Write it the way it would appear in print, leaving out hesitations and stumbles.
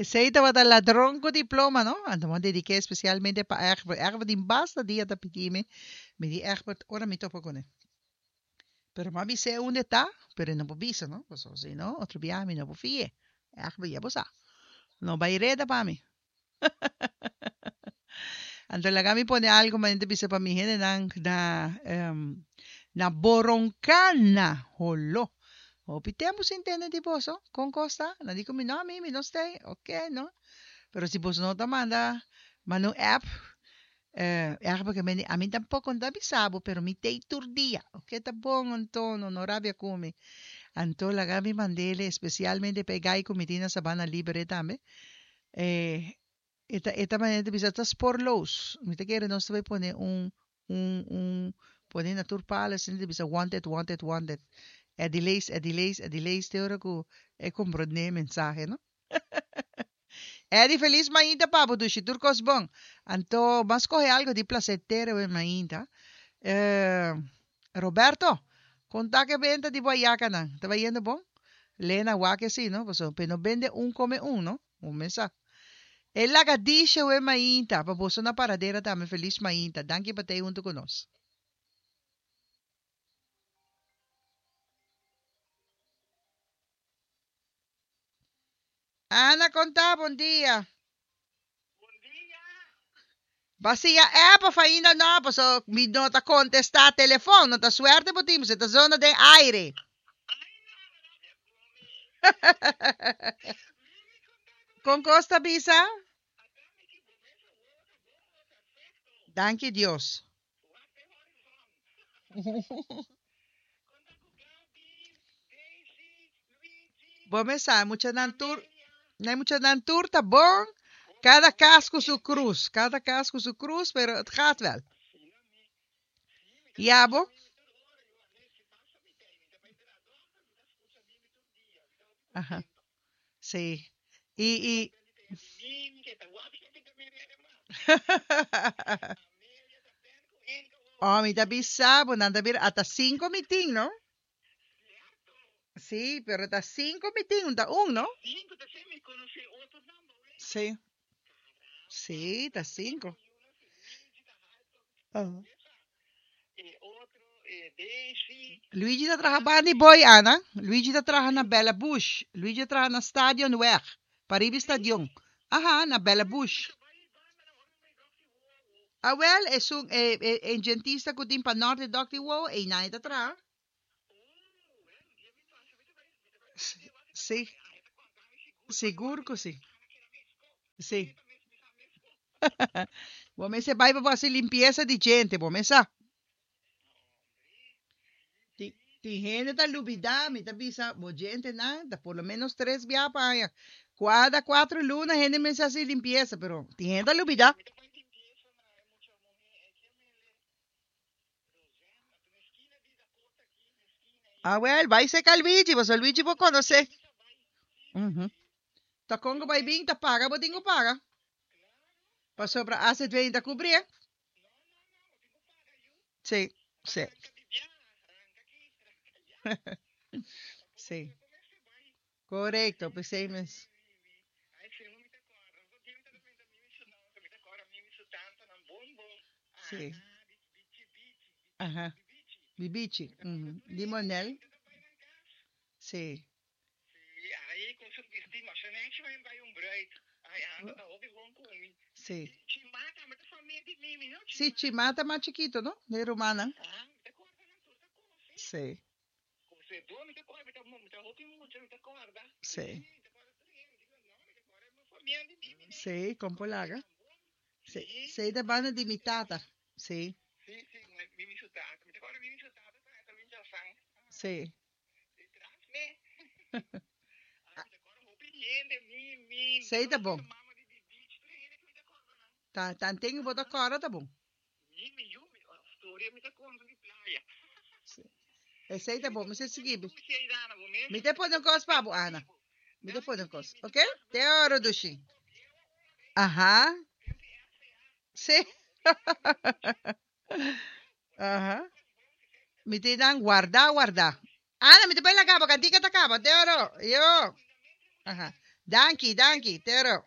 Esei tabata ladron ku diploma, no? Anto mi a dediké espesialmente pa Egbert. Egbert tin basta dia ta pidi mi. Mi di Egbert ora mi topa kuné. Pero mi a bis'é unda e ta, pero e no por bisa, no? Pasobra si no, otro biaha mi no por fi'é. Egbert, ya bo sa. No bai reda pa mi. Anto laga mi pone algu manera ta bisa pa mi hendenan na na Boroncana, Holo. Hopi tempu sin tende di boso. Kon kos ta? Nan di ku mi, no, mi, mi no stay. Oke, no. Pero si boso no ta manda, manda un app, erg porque mi di, ami tampoko no ta bisa bo, pero mi tei tur dia. Oke, ta bon anto, no, no rabia ku mi. Anto laga mi mand'el espesialmente pa e gai ku mi tin na Sabana Libre tambe. E e ta e ta manera ta bisa ta spoorloos. Mi ta kere nos ta bai pone un un un pone na tur palo asina ta bisa wanted wanted wanted. Eddie Leys Eddie Leys Eddie Leys te ora ku e komprondé e mensahe no. Eddie felis mainta pa bo dushi tur kos bon. Anto bo a skohe algo di plasetero e mainta. Roberto, konta ke benta di bo ayakanan ta bayendo bon? Lena wak esei no pasobra pe no bende un kome un no. Bo mes sa. E laga dice we mainta pa boso na paradera tambe felis mainta danki pa tei hunto cu nos. Ana con ta bon dia. Bon dia. Basia app of ainda no paso mi no ta contesta telefon no ta suerte bo tin paso e ta zona den aire. Ay no rabia cu mi. Mi mi con ta cu Con cos ta bisa? Ata mi ki bo mes awor ta bon o perfecto. Danki Dios. Wak den horizon. Con ta cu Gaby, Daisy, Luigi, Bo mes sa muchanan tur Amelia. na muchanan tur ta bon Hopi cada bon cas cu su sí. cruz cada cas cu su cruz pero het gaat wel. Asina mi. Sí, mi ta Ya scucha bo? Mimi tur ora, yo a veces pasa mi tei, mi ta bai traha dokter, mi ta scucha Mimi tur dia, mi ta hopi Aha contento. sí Mi y ta y contento di tende Mimi, ke ta wak ke ta miri ademas. Amelia ta pen ku Inka Oh, hoor. mi ta bisa bo, nan ta bira ata cinco mitin, no? Cierto. Sí, pero ta cinco mitin, un ta un, Ta no? cinco, ta si mi conoce otro nan ba wega. Sí, Caramba, sí, mi ta ta corda cinco. mi yuna si Luigi ta alto, Ah. mesa. E otro, e Daisy, Luigi ta traha banda di Gaby, boy, Ana. Luigi ta traha na sí, Bella Bush. Luigi ta traha na Stadionweg, pariba sí. stadion. Aha, na Bella Ay, mi Bush. ta bai banda na ora mi bai dòkter wowo. Awel, esun e, e, e dentista ku tin pa nort di dòkter wowo, einan e ta traha. Oh, well, un dia mi pasa, mi ta bai, mi ta bai Sí, puntra e wak si ta sí, traha. Ai, e ta konta mi sigur, ora mi sigur wak ku e sí. Ana keda mesko. Sí. Mi ta mes, mi sa mesko. Bo mester bai pa bo hasi limpiesa di djente, bo mes sa. Hombre, Tin, sí, tin sí, hende mi ta ta kòrda lubidá, mi. mi ta bisa, bo djentenan ta por lo ménos tres bia pa aña. Kuada kuatro luna hende mester hasi limpiesa, pero tin hende ta lubidá. Mi ta bai limpiesa na e mucha muhé ei ke mele Rosanne, anto na eskina di Dakota aki, na eskina ei. Awel, bai serka Luigi, pasobra Luigi por Mi ta konosé. mi ta bai, sí, Ujú. sí. Ta kon ku Mi bai ta, bin ta paga bo tin ku paga, klaro. pasobra AZV ta kubrié. No, no, no, bo tin ku paga yu. Sí, sí, Ranka di biaha, ranka aki, ranka ya. Ta bon, sí. bo mester bai. Korekto, Sí, p'esei sí, mes. mi, mi. Ai, sí, mi ta kòrda. Otro dia mi ta menta mimi su nòmber, mi ta kòrda mimi su tantanan bon bon. Sí. Ana, di, bichi, bichi, Aha. bichi, bichi. Bibichi. Mi ta kòrda Ujú. tur hende, Limonel. hende ta bai nan kas. Sí. Sí, ai, kon su bisti masha nechi bai bai un bruid. Ai, anta ta hopi bon ku mi. Sí. I Chimá tambe ta famia di Mimi, no Sí, Chimá? Chimá ta mas chikito, no? De rumannan. Ah, mi ta kòrda nan tur ta konosí. Sí. Kosedó mi ta kòrda, mi ta mi ta hopi mucha, mi ta kòrda. Sí, Sí. mi ta kòrda tur hende. Mi digo, no, mi ta kòrda mi famia di Mimi nei. Sí, kon por Ai, laga. nan bon. Sí. Sí, Sí, ta banda di nan mi tata. ta. Sí. Sí, sí, Mimi su tata. Mi ta kòrda Mimi su tata ta ta bin Jasan. Sí. Di tras me. Ai, mi ta kòrda hopi hende, Mimi, Sí, ta Dòkter, bon. mama di Bibichi, tur hende ku mi ta kòrda nan. Ta, tanten bo ta Aha. kòrda ta bon. Mimi, yu, mi, storia mi ta konta di playa. Sí. Esei Sí, ta mi bon, ta mi bon sa sigui. dushi ei, Dana, bo mes Mi te pone un kos pa bo, perfecto Ana. di bo. Mi te pone Danki, un kos, Mimi, tur ok? kos Te bon. oro, Ata dushi. mi bieu awor ei. Aha. Tempu RCA. Sí. Haló, hopi aña mi ta mucha. Bueno, Aha. tur kos bon, si fe, mi ta Mi te konta dan guarda, Danki, guarda. dushi. Ana, mi te pone la capa, cantica ta capa. Te oro. Yo. Cuidamento e Aha. muchanan. Danki, danki, tero.